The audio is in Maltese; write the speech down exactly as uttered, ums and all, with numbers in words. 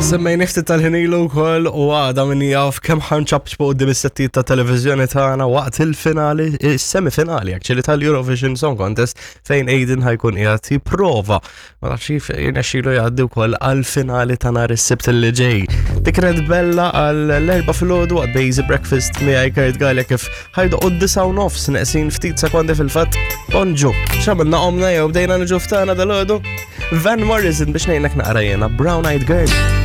Semmejna ftit tal-ħin ilu wkoll u għada min jaf kemm ħa nċapċpu quddiem is-settijiet ta' televiżjoni tagħna waqt il-finali, is-semifinali actually tal-Eurovision Song Contest, fejn Aiden ħa jkun qiegħed jipprova, ma nafx kif jirnexxielu jgħaddi wkoll għal-finali ta' nhar is-Sibt li ġej. Dik kienet Bella għall-erbgħa filgħodu għad Basic Breakfast miegħi Kurt Galea, kif ħa jdoqqu d-disgħa u nofs neqsin ftit sekondi fil-fatt. Bonġu, x'għamilna, qomna jew bdejna niġu ftana dalgħodu? Van Morrison biex ngħinek naqra jiena, Brown Eyed Girl.